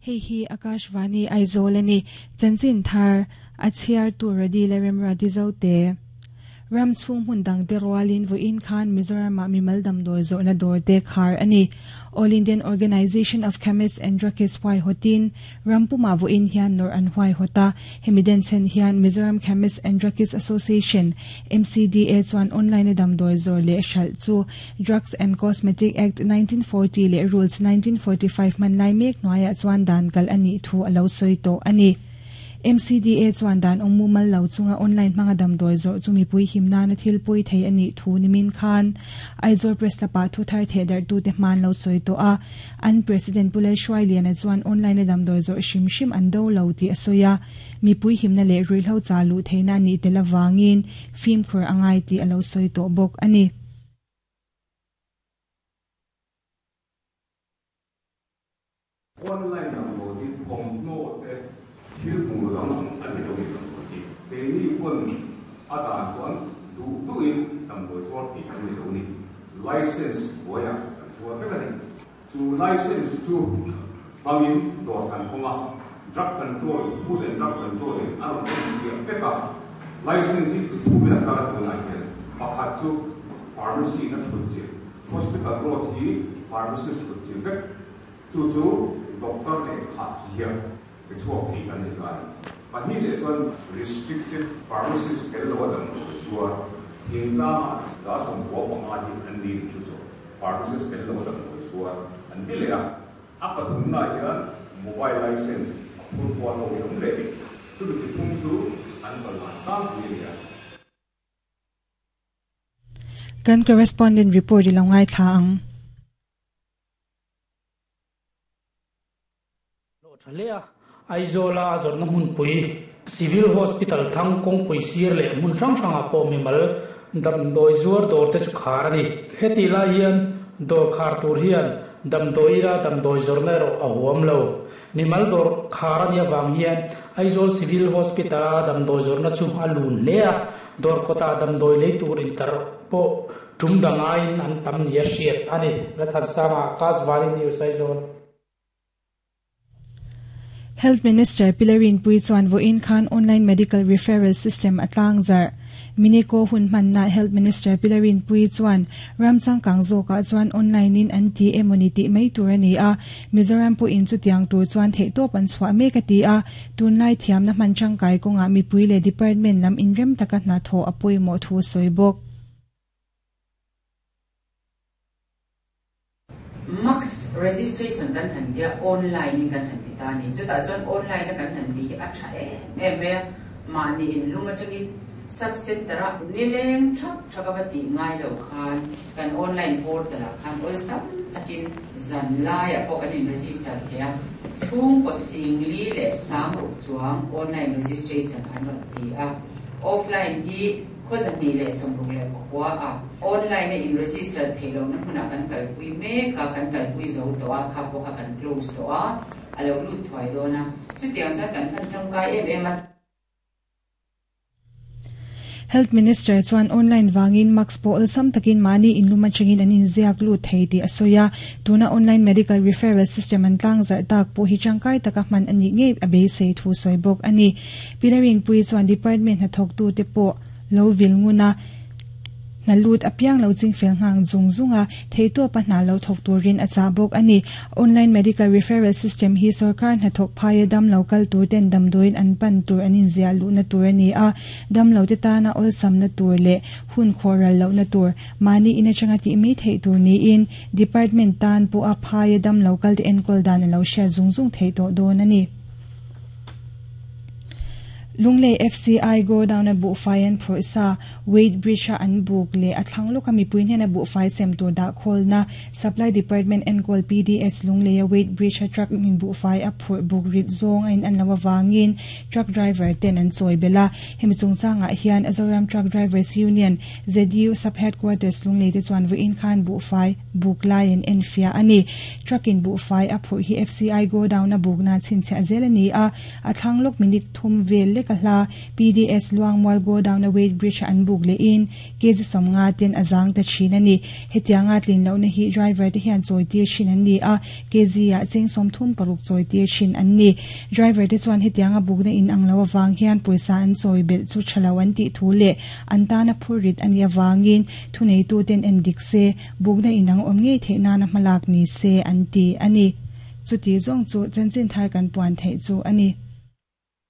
Hei hi Akashvani Aizawl a ni. Chanchin thar a chhiartu Radi Lalremruati Zote. Ram chhung hmun dangte rualin vawiin khan Mizoramah mimal damdawi zawhna dawrte khar a ni. All Indian Organisation of Chemists and Druggists huaihawtin ram pumah vawiin hian nawrh an huaihawt a. Hemi denchhen hian Mizoram Chemists and Druggists Association, MCDA, chuan online-a damdawi zawr leh hralh chu Drugs and Cosmetic Act, 1940 leh Rules, 1945 hman lai mek hnuaiah chuan dan kalh a nih thu a lo sawi tawh a ni. MCDA chuan dan awm mumal lo chunga online hmanga damdawi zawrh chu mipui him nana thil pawi thei a nih thu nimin khan Aizawl Press Club-ah thu thar thehdarhtute hman lo sawi tawh a. An President Pu Lalhruailiana chuan online-a damdawi zawrh hrim hrim an do lo tih a sawi a, mipui himna leh ruihhlo chah luh theihna a nih tel avangin fimkhur a ngai tih a lo sawi tawh bawk a ni. Online damdawi hi thawmhnaw te thil hmuh dang ang a ni lo ni damdawi hi. Keini pawn a dan chuan duh duhin damdawi chhuar thei kan ni lo ni. License hnuaiah kan chhuar vek a ni. Chu license chu hmangin dawr kan hawng a, Drug Control, Food and Drug Control in a rawn en fiah vek a. License hi chi thumin a kal a tunah hian pakhat chu pharmacy in a thut chilh, Hospital road hi pharmacist thut chilh vek. Chu chu doctor leh khah ziah pe chhuak thei kan ni ta a ni. Pahnih leh chuan restricted pharmacist tel lo a damdawi zuar thingtlangah 15 hi an ni chu chu pharmacist tel lo a damdawi zuar an ti leh a. A pathumnaah hian mobile license a phur kual ho hi a awm leh ni. Chumi chi phung chu an kalhlan tlangpui a ni a. Kan correspondent report i lo ngaithla ang. Hlawh tha hle a, Aizawl-a a zawrhna hmunpui, Civil Hospital thang kawngpui sir leh hmun hrang hrangah pawh mimal damdawi zuar dawrte chu khar a ni. Hetih lai hian dawr khar tur hian damdawi ila damdawi zawrhna erawh a huam lo. Mimal dawr khar a nih avang hian Aizawl Civil Hospital-a damdawi zawrhna chu a lun hle a, dawr kawtah damdawi lei tur intar pawh Tum dang aiin an tam nia hriat a ni. Lathansanga, Akashvani News, Aizawl. Health Minister Pi Rinpui chuan vawiin khan Online Medical Referral System a tlangzarh. Mineko hun hmanna Health Minister Pi Rinpui chuan ram changkang zawkah chuan online in an ti emawni tih mai tur a ni a, Mizoram pawhin chutiang tur chuan theihtawp an chhuah mek a ti a, tunlai thiamna hman tangkai kawngah mipui leh department lam inrem taka hnathawh a pawimawh thu a sawi bawk. Max registration kan han tia online in kan han ti ta a ni. Chutah chuan online a kan han ti hi a tha em em mai a, mahni inlum atangin sub center a nileng thak thak a va tih ngai lo khan kan online portal ah khan awlsam takin zan laiah pawh kan in register thei a, chhungkaw singli leh sangruk chuang online registration an rawn ti a, offline hi Khaw 269 a online a in register theih lohna hmunah kan kalpui mek a, kan kalpui zo tawh a, kha pawh kha kan close tawh a, a lo lut thuai dawn a, chutiang chuan kan hman tangkai em em a. Health Minister chuan online vangin mask pawh awlsam takin mahni inlum atangin an inziak lut thei tih a sawi a, tuna online medical referral system an tlangzarh tak pawh hi tangkai taka hman a nih ngei a beisei thu sawi bawk a ni. Pi Larinpuii chuan department hnathawktute pawh lo vil ngun a, hna lut apiang lo chingfel nghang zung zung a, theihtawpa hna lo thawk turin a chah bawk a ni. Online Medical Referral System hi sorkar hnathawk phaia damlo kal tur ten damdawiin an pan tur an inziah luhna tur a ni a, damlote tana awlsamna tur leh hun khawhral lohna tur mahni in atanga tih mai theih tur niin department tan pawha phaia damlo kalte enkawl dan a lo hriat zung zung theih tawh dawn a ni. Lunglei FCI godown-a buhfai an phurh sa, Weight Bridge-a an buk leh a thlang lawka mipui hnena buhfai sem tur dah khawlna, Supply Department enkawl PDS Lungleia Weight Bridge-a truck in buhfai a phurh buk rit zawng a in an loh avangin truck driver ten an chawi belh a. Hemi chungchangah hian Zoram Truck Drivers Union, ZU, Sub-Headquarters Lunglei te chuan vawiin khan buhfai buk lai an enfiah a ni. Truck in buhfai a phurh hi FCI godown a bukna chhinchhiah zel a ni a, a thlang lawk minute thum vel lek. leka hla PDS Luangmual Godown a weight bridge a an buk lehin kg 50 ten a zang ta thin a ni. Hetianga tlin lohna hi driver te hian chawi tir thin an ni a, kg ah cheng 36 chawi tir thin an ni. Driver te chuan hetianga bukna in ang lo avang hian pawisa an chawi belh chu tha lo an tih thu leh an tana phur rit a nih avangin thuneituten en dik se, bukna in ang awm ngei theih nana hmalak ni se an ti a ni. Chuti zawng chu chanchin thar kan puan theih chu a ni.